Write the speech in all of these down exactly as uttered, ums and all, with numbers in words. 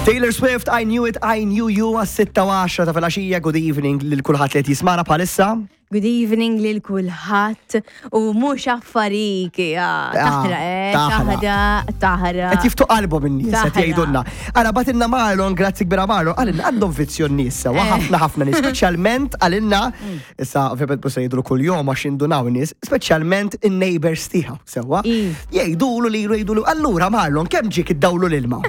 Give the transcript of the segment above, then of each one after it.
Taylor Swift, "I Knew It, I Knew You", għas-sitta u għaxra ta' filgħaxija. Good evening lil kulħadd li qed jismagħna bħalissa. Good evening lil kulħadd u mhux affarik, ja, taħra, eh, taħra. Taħra, taħra. Qed jiftħu qalbhom in-nies, qed Taħra. jgħidulna. Ara bagħtilna Marlon, grazzi kbira Marlon, qalilna għandhom vizzju n-nies sewa, Eh. ħafna ħafna nies, speċjalment qalilna, issa ovvjament mhux se jgħidulu kuljum għax jindunaw in-nies, speċjalment in-neighbors tiegħu sewwa. I. Jgħidulu li jgħidulu, allura Marlon, kemm ġiek id-dawl u l-ilma?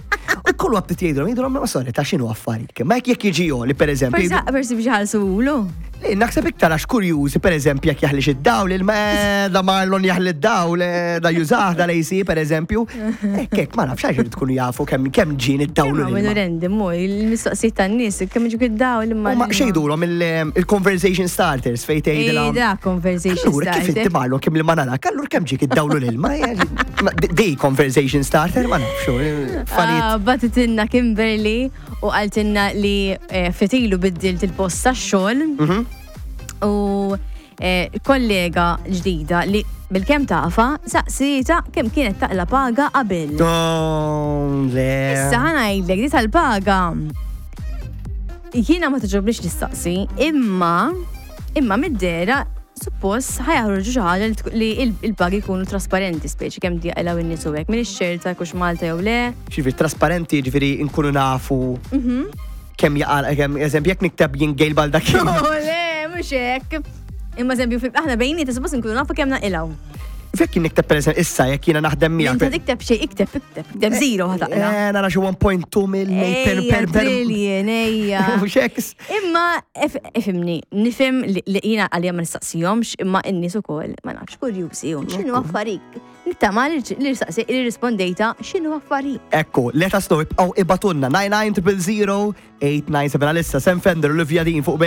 U kullu għabtit jgħidulu, jgħidulu, ma sorry, ta' x'inhu affarik? Ma jekk jekk jiġi li per eżempju. Forsi forsi biex ħalsulu. Li, naħseb iktar għax kurjużi, per eżempju, jekk jaħlix id-dawl, il-ma da Marlon jaħli id-dawl, eh, da jużah da l-A C, per eżempju. Ekk, ekk, ma nafx għax tkunu jafu kemm kemm ġin id-dawl u Minnu l-ilma. random, mu, il-mistoqsijiet tan-nies, kemm ġik id-dawl imma. U ma xejdulhom il-conversation starters fejn tgħidilha. Da, conversation Allura, kif inti starter. Marlon, kemm li ma narak, allura kemm ġik id-dawl u l-ilma? Ma- Di conversation starter, ma nafx, affarijiet. Ah, Bagħtitilna Kimberly u qaltilna li eh, ftit ilu biddilt il-post tax-xogħol Mhm. u eh, kollega ġdida li bil-kemm tafha saqsietha kemm kienet taqla paga qabel. Oh, le. Issa ħa ngħidlek di tal-paga. Jiena ma togħġobnix nistaqsi, imma imma mid-dera suppost ħa joħorġu xi ħaġa li tkun- li il- il-pagi jkunu trasparenti, speċi kemm jaqilgħu in-nies u hekk. M'iniex ċerta kux Malta jew le. Ġifieri trasparenti, ġifieri nkunu nafu Mhm. kemm jaqal, kemm, eżempju, jekk nikteb jien Gail Baldacchino. Oh, le, mhux hekk. Imma eżempju, fil- aħna bejnietna suppost nkunu nafu kemm naqilgħu. Fekk jien nikteb per eżempju, issa jekk jiena naħdem miegħek. Inta tikteb xejn, ikteb, ikteb, ikteb zero ħa taqla'. Eh, nara xi one point two mill per Ejja, per per. trillion, ejja. Mhux hekk. Imma, if- ifhimni, nifhem li li jiena għalija ma nistaqsihomx, imma n-nies ukoll, ma nafx, kurjużi, x'inhu affarik. Nittama li li saqsi li rispondejta x'inhu affarik. Ekku, let us know, ibqgħu ibagħtulna nine nine zero zero eight nine seven għalissa Sam Fender, Olivia Dean fuq